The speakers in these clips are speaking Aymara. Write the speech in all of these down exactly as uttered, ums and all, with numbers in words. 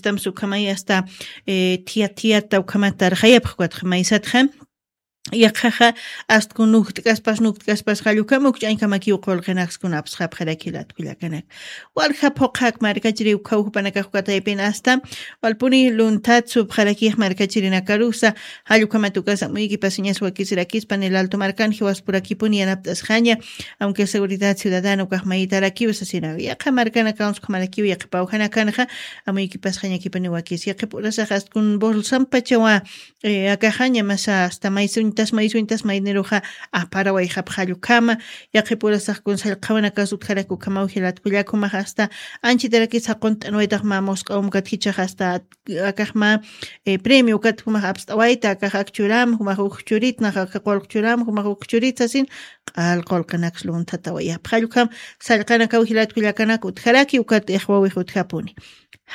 Tamsa ukhamay asta, eh, thiyat thiyata ukhamat tarxayapxkatxa maysatxa. Yaqhaxa, astkun nukt'kaspas nukt'kaspas jallukama ukch'añkamakiw qulqinakskun apsxapxaraki latkullakanak. Walja phuqhak markachiri ukhaw jupanakax ukataypin asta walpuni lunthat supxarakix markachirinakarusa. Jallukamatukasa amuykipas iñas wakisirakispa nil alto markan jiwaspurakipuni yanapt'asxaña. Aunque seguridad ciudadana ukax mayitarakiw sasinaw yaqha markanakawan sukhamarakiw yaqhipawjanakanxa. Amuykipasxañakipuni wakis yaqhipurasax astkun bolsampachawa. Akaxaña masa asta maysuñtas maysuñtas mayniruxa aparawayxapxallukhama. Yaqhipurasaxkun sallqhawanakas utjarakukhamaw jilatkullakumax asta anchitarakis jaqunt'anwaytax mä musq'awmkat jichax asta akaxma. Premio ukat jumax apst'awayta akax akchuram jumax ukchurit nax aka qulqchuram jumax ukchurit sasin. Q'al qulqinaks lunthatawayapxallukham. Sallqanakaw jilatkullakanak utjaraki ukat ixwawix utjapuni.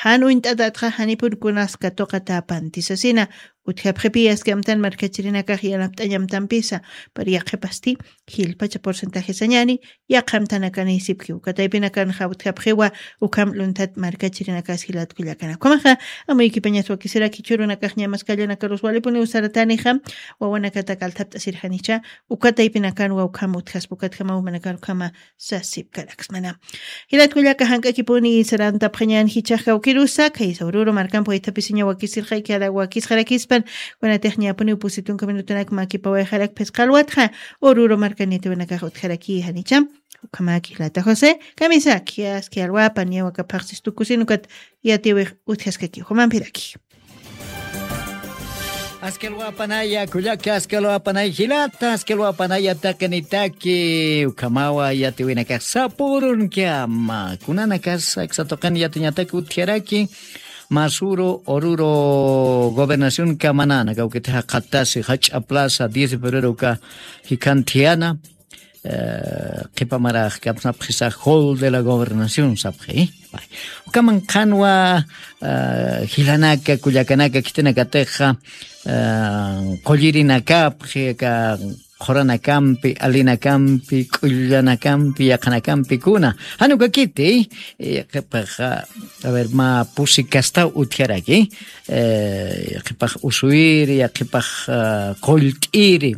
Jan uñt'atatxa janipun kunas katuqatapanti sasina. Utjapxipi askamtan markachirinakax yanapt'añamtampisa. Pari yaqhipasti jilpacha porcentajesañani yaqhamtanakanïsipkiw kataypinakanxa utjapxiwa. Ukham lunthat markachirinakas jilatkullakanakumaxa. Amuykipañas wakisiraki churunakaxñamas kallanakarus walipuni usaratanixa. Wawanakata kalthapt'asirjanicha. Ukataypinakanwa ukham utjaspa ukatjamaw manakar ukhama sasipkaraksmana. Jilatkullaka jank'akipuni sarantapxañan jichax kawkirusa khaysa ururu markampi waythapisiña wakisirxayki ara wakisxarakispan. Kunatixñapuniw pusitunka minutunak makipawayxarak phisqa alwatxa. Ururu markanitiwanakax utjaraki janicham. Ukhamaki jilata josé kamisaki aski alwapan yawakaphaxsis tukusin ukat yatiwix utjaskakiw jumampiraki. Askalwapanaya kullaka askalwapanay jilata askalwapanaya taqinitaki ukhamawa yatiwinakax sapurunkiama kunanakas aksatuqin yatiñataki utjaraki. Masuru oruro gobernación kamanana kawkitaxa qhatasi jach'a plaza diez de febrero uka jikhan thiyana. Qhipamaraq kapsnapxisa hall de la gobernación sapxi. Ukaman qhanwa jilanaka kullakanaka khitinakatixa qullirinakapxi aka qhuranakampi alinakampi k'ullanakampi yaqhanakampi kuna. Janukakiti qhipaxa a ver mä pusi kastaw utjaraki. Qhipax usuyiri yaqhipax qullt'iri.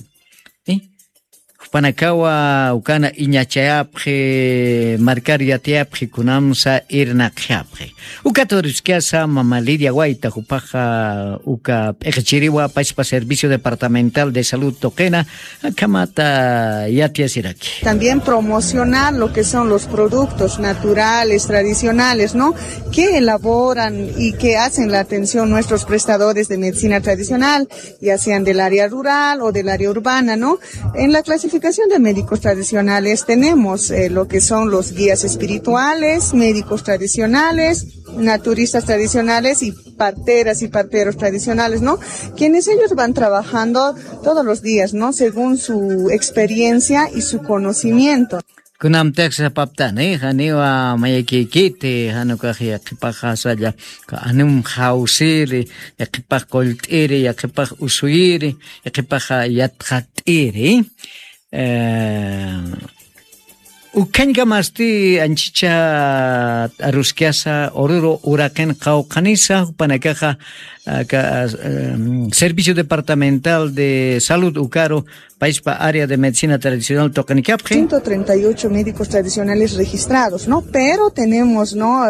Jupanakawa ukana iñachayapxi markar yatiyapxi kunamsa irnaqxapxi. Ukat uriskasa mama lidia wayta jupaxa uka p'iqchiriwa pachpa servicio departamental de salud tuqina akhamata yatiyasiraki. También promocionar lo que son los productos naturales tradicionales no, que elaboran y que hacen la atención nuestros prestadores de medicina tradicional, ya sean del área rural o del área urbana no. En la clasificación de médicos tradicionales tenemos lo que son los guías espirituales, médicos tradicionales, naturistas tradicionales y parteras y parteros tradicionales no, quienes ellos van trabajando todos los días no según su experiencia y su conocimiento. Kunamtix sapaptani janiwa mayakikiti janukax yaqhipaxasalla anum jawsiri yaqhipax qullt'iri yaqhipax usuyiri yaqhipax yatxat'iri. Ukhañkamasti anchicha t'aruskasa ururu uraqin qawqhanisa jupanakaxa servicio departamental de salud ukaru paispa área de medicina tradicional tuqanikapxi. Ciento treinta y ocho médicos tradicionales registrados no, pero tenemos no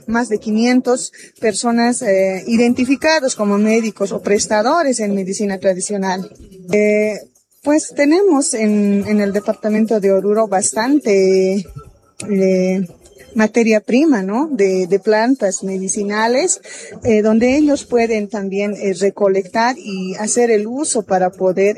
más de quinientos personas identificados como médicos o prestadores en medicina tradicional. Pues tenemos en el departamento de oruro bastante materia prima no, de plantas medicinales donde ellos pueden también recolectar y hacer el uso para poder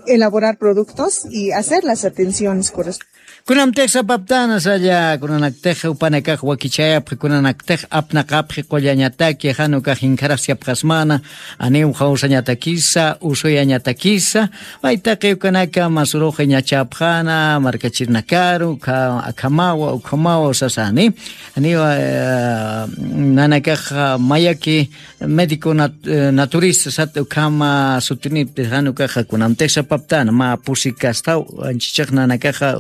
elaborar productos y hacer las atenciones correspondientes. Kunamtix sapaptana salla kunanaktix upanakax wakichayapxi kunanaktix apnaqapxi qullañataki janukax inkharasyapxasmana. Aniw jawsañatakisa usuyañatakisa. Maytaqi ukanaka masuruxa iñachapxana markachirinakaru ukhamawa ukhamawa sasani. Aniwa nanakaxa mayaki médico naturista sat ukhama sutinipti janukaxa kunamtix sapaptana mä pusi kastaw anchichix nanakaxa.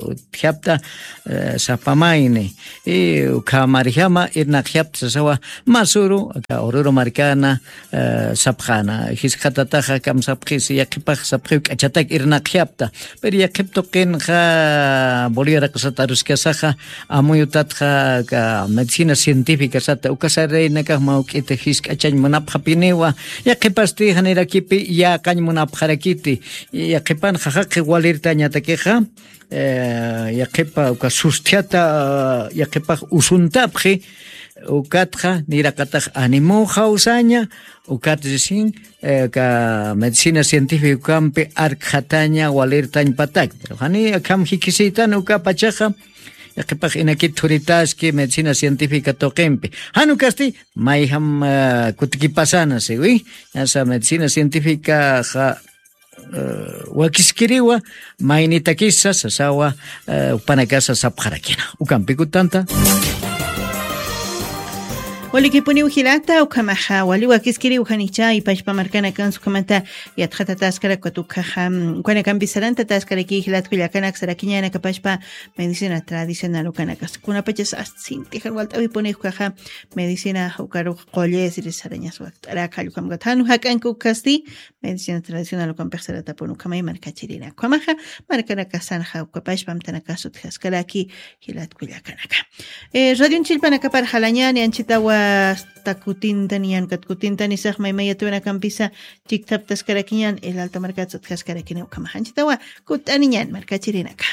sapxapta, eh, sapamayni. Y ukhamarjama irnaqjapta sasawa masuru, aka Oruro markana, eh, sapxana. Jiskatataxa kam sapxis, yaqhipax sapxiw k'achatak irnaqjapta. Pero yaqhip tuqinxa Bolivia raqasata aruskasaxa, amuyutatxa aka medicina científica sata, uka sarraynakax mawk'ita jisk'achañ munapxapiniwa, yaqhipasti janirakipi yäqañ munapxarakiti, yaqhipanxa jaqi walirtañatakixa, eh, yaqhipa uka susthiata, yaqhipax usuntapxi, ukatxa niraqatax animuxaw saña, ukat risin, eh, ka medicina científica ukampi arkxataña walirtañ patak. Pero jani akham jikisiytan uka pachaxa, yaqhipax inakit thuritaski medicina científica tuqimpi. Jan ukasti, mayjam, eh, kutikipasana siwi. Ñasa medicina científica ja, eh, wakiskiriwa, maynitakisa sasawa, eh, upanakasa sapxarakina. Ukampi kutanta. Walikipuniw jilata, ukhamaxa, wali wakiskiriw janicha, ipachpa markanakansa ukhamata, yatxatataskarak, ukat ukhaxa, mm, ukanakampi sarantataskaraki, jilat kullakanak sarakiñanakapachpa, medicina tradicional ukanakas. Kunapachas asintixan walt'awipuni ukhaxa, medicina ukarux qullisri sarañas wakt'arak, jallukhamkat janu jak'anka ukhasti, medicina tradicional ukampix saratapun ukhamay markachirina. Ukhamaxa, markanakasanxa ukapachpa amtanakax utjaskaraki, jilat kullakanaka. Eh, radion chillpanakapar jalañani, anchitawa hasta kutintani, ñan ukat kutintani sax maymayatiwanakampisa chiktaptaskarakiñan, el alta markatsa utjaskarakini ukhamaxa. Anchitawa kut'aniñan markachirinaka.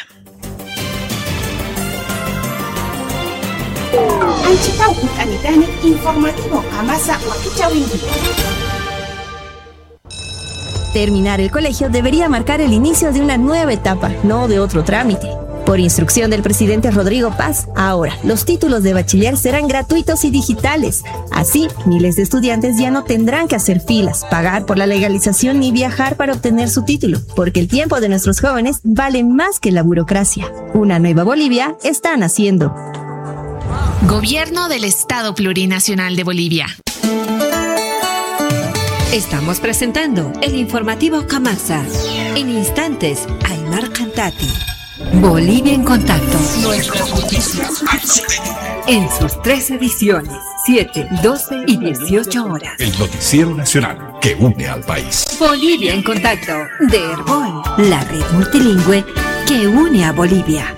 Anchitaw kut'anitani informativo qamasa wakichäwinki. Terminar el colegio debería marcar el inicio de una nueva etapa, no de otro trámite. Por instrucción del presidente Rodrigo Paz, ahora los títulos de bachiller serán gratuitos y digitales. Así, miles de estudiantes ya no tendrán que hacer filas, pagar por la legalización ni viajar para obtener su título, porque el tiempo de nuestros jóvenes vale más que la burocracia. Una nueva Bolivia está naciendo. Gobierno del Estado Plurinacional de Bolivia. Estamos presentando el informativo Kamasa. En instantes, Aymar Cantati. Bolivia en contacto. Nuestras noticias al sueño. En sus tres ediciones, siete, doce y dieciocho horas. El noticiero nacional que une al país. Bolivia en contacto, de Erbol, la red multilingüe que une a Bolivia.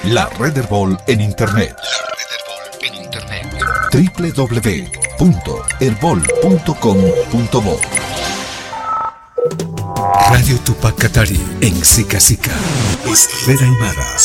La red Erbol en internet. La red Erbol en internet. W W W punto erbol punto com punto bo. Radio Tupac Katari en Sica Sica. Es red aymara.